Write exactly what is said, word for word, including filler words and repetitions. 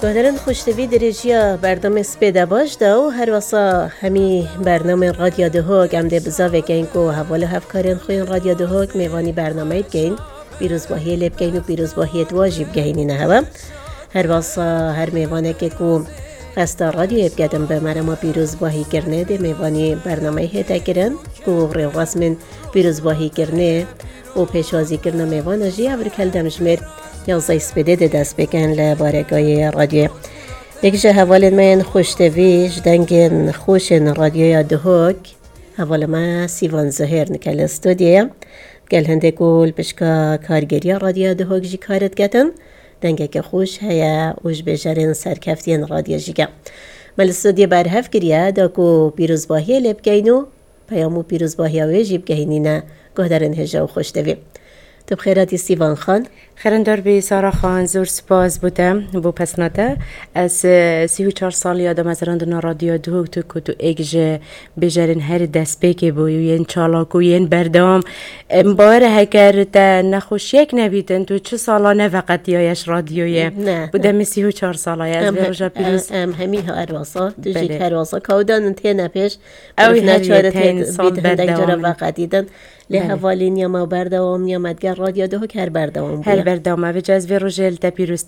Guhdarên xweştevî, dirêjiya bernamê Spêde baş de û her wesa hemî bernamên Radya Duhok em dê bizavê keyin ku heval û hevkarên xwe yên Radya Duhok mêvanî bernameyê dikeyin, pîrozbahiyê lê bikeyin û pîrozbahiyê di wa jî bigehînîne hewe. Her wesa her mêvanekê ku qesta radyoyê biketin bi merema pîrozbahîkirinê dê mêvanî bernameyê hête kirin ku rêwresmên pîrozbahîkirinê û pêşwazîkirina mêvana jî ev rikeld demjimêr yazdeh Spêdê dê dest pê kin li baregayê radyoyê. Yek ji hevalên me yên xweştevî ji dengên xweşên radyoya Duhok, hevalê me Sîvan Zuhêr nike li studyoyê. Gel hindê ku li pişka kargeriya radyoya Duhok jî kar diketin, dengeke xweş heye û ji bêjerên serkeftiyên radyo jî ke. Me li studyoyê berhev kiriye da ku pîrozbahiyê lê bikeyin û peyam û pîrozbahiya wê jî bigehînîne guhdarên hêja û xweştevî. Tu bi xêr hatî Sîvan Xan. Xêrindar bî Sara Xan, zor spas bo te, bo pesna te. Ez, e, sî û çar saliya damezrandina Radyoya Duhok, tu ku tu êk ji bêjerên herî destpêkê bûyî û yên çalak û yên berdewam. Em bawer e heger te nexweşiyek nebîtin, tu çi sala neveqetiyaye ji radyoyê? Ne. Bo demê sî û çar sala ye, ez Em vê he-, roja pîroz em, em hemî her wasa, tu jî Belê. her wasa. Kawdanin têne pêş, Ew Mirov herî neçare tê teyn sal bît hindek cara berdewam in. veqetîtin. Lê Belê. hevalîniya me û berdewamiya me digel Radyo Duhok her berdewam bûye. Her berdewam e. Vêca ez vê rojê li te pîroz